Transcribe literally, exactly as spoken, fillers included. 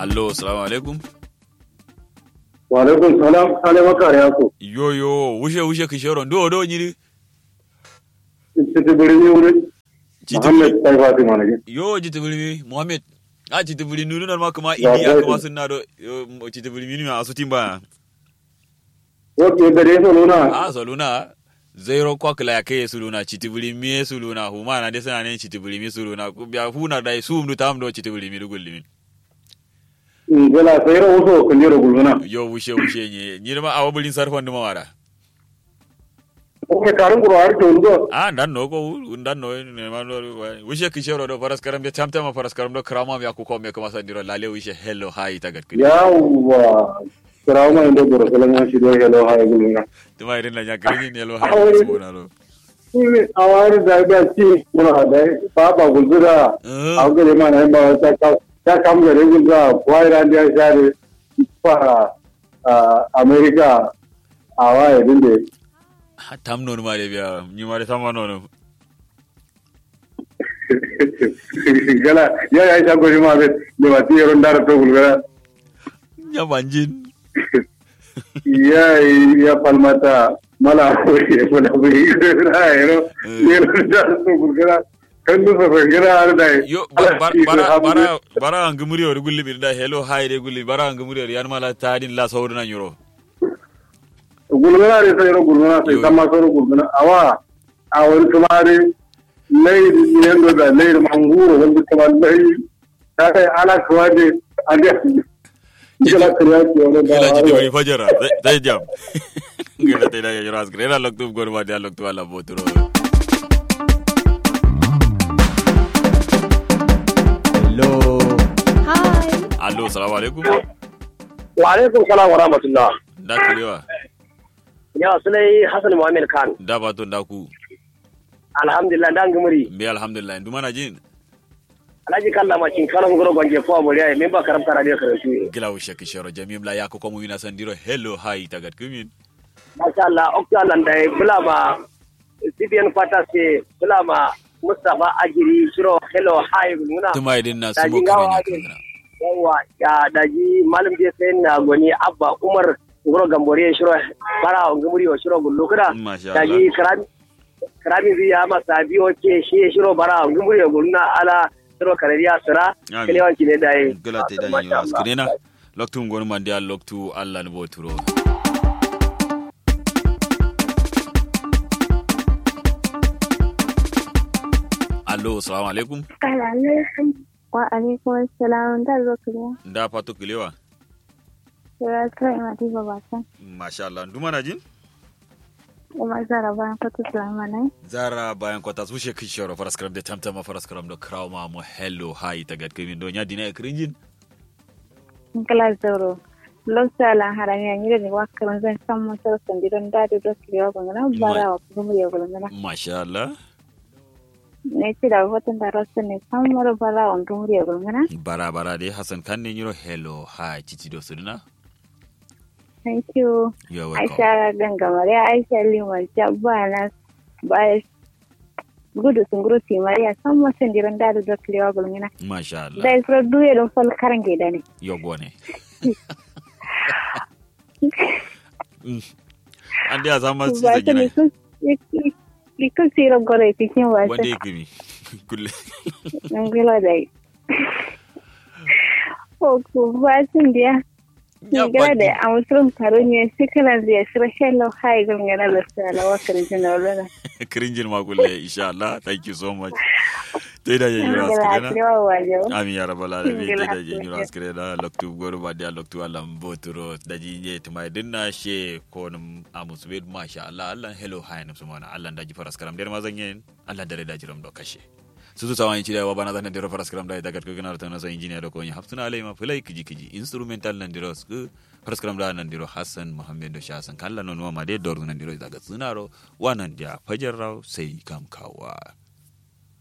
Allo, salamu alaikum. Wa alaikum salam, sale makare yaso. Yo yo, wushe wushe kǝshero nduwo do nyiri. Citi bǝrimi wuri. Citi muhammad bǝri- sai fatima na gin. Yo citi bǝrimi muhammad. A citi bǝrimi nunu nan ma kǝma. Indiya kǝma sunna do. Citi bǝrimi ni ma asu timba. Oke gade soluna. A soluna. Zairo kwa kǝla ya kai ye suluna citi bǝrimi ye suluna huma na de sǝna ne citi bǝrimi suluna biya huna dai sum du tam do citi bǝrimi du gullumin. Ngala sai ro wuso kundero gulguna. Yo wushe wushe nye nyirma awo bulin sarfan duma wara. Ko me karun guro har to ndo. A ndan no ko ndan no ne ma no. Wushe kishero do faras karam de tam tam faras karam do krama ya ku ko me kuma sandiro lale wushe hello hi tagat kini. Yawa. Krama indo guro salama shi do hello hi gulguna. Tuma irin la nya kini hello hi suna do. Awari da da ci mura da baba gulzura. Awgare ma na ba ta ka ta kam gare gulza kwai ran da share. Fa america. Awa ya dinde. Tam non ma de biya ni ma de sama non. Gala ya ya sha gori ma be. Ne ma ti yero ndara to gulgara. Nya banjin. Ya ya falmata mala ko ye ko na bu yi ra yero. Yero da so gurgara. Kan du so gurgara har da. Yo bara bara bara bara angumuri ori gulli bir da hello hi de gulli bara angumuri ori yan mala tadin la sauru na nyuro. Gulgara de sai ro gulgara sai sama sauru gulgara awa. A wani tumari. Lairi yendo da lairi manguro wani tumari lairi. Ala kuwa de. Ande. Kila kila kila kila kila kila fajara. Zai jam. Ngana tai da ya jira askare na loktu gor ma da loktu ala boturo. Hello. Hi. Allo salamu alaikum. Wa alaikum salam wa rahmatullah. Da kilewa. Ya sulai hasan muhammad khan. Da bato da ku. Alhamdulillah da ngumuri. Mbe alhamdulillah nduma na jin. Alhaji kalla ma kin kala nguro gonje ko aboriya min ba karam kara de karantu. Gila wushe kishero jamim la ya ko komu wina sandiro hello hi tagat kumin. Masha Allah okta nan da bula ma. Sibiyan fata se bula ma. Mustapha ajiri shiro hello hi gulmuna. Tuma idin na sumo karan ya kangana. Yawa ya daji malum je sai na goni abba umar. Nguro gambore shiro bara ngumuri shiro gullu kuda. Masha Allah. Daji karami. Karami bi ya masa biyo ce shi shiro bara ngumuri gulna ala. Shiro karariya sira. Kalewan ki ne dai. Gala te dai yura skrena. Loktu ngonu mandiya loktu allah ni boturo. Allo salamu alaikum. Salamu alaikum. Wa alaikum salam da zo kiriya. Da fato kilewa. Sura sura ima ti babata. Masha allah nduma na jin. Uma zara bayan kwata salama nai. Zara bayan kwata su she kishoro faras karam de tamtama faras karam do krawo ma mo hello hi tagat kimin do nya dina e krinjin. Ngla zoro. Lokta la harami a nyire ni wakkaran zan sammo soro sandi don dadi do kiriya gongana bara wa kuma ya gongana. Masha allah. Nai tida foton da rasu ne sammo do bara wa kuma ya gongana. Bara bara de hasan kan ne nyiro hello hi titi do suduna. Thank you. Aisha gangamare aisha liman jabba na. Bai gudu sunguru timariya samma sandiro ndadu doklewa gulngina. Masha allah. Dai suro duye don fol karange dane. Yogone. Ande a samma sisa gina. Ikul siro gore pikin wasa wande ikimi. Kulle. Ngila dai. Oku basin dia. Ngila dai amusurum karo nye sikila dia siro hello hi gulngina lasa ala wakari jina olona. Kirinjin ma kulle insha allah thank you so much. Tei da ye nyiro askirena. Amin ya rabbal alamin. Tei da ye nyiro askirena loktu goro ba dia loktu alam boturo da ji nye tumai dinna she konum amusubed masha allah allah hello hi num sumana allah da ji faras karam der mazanyen. Allah dare da jiram do kashe. Susu sawan ci da wa bana zan dero faras karam da ita gatko gina ta na so injiniya do ko ni hafsuna alai ma fulai kiji kiji instrumental nan dero su faras karam da nan dero hassan muhammad do sha hassan kalla non wa ma de dor nan dero ita ga sunaro wa nan dia fajar raw sai kam kawa.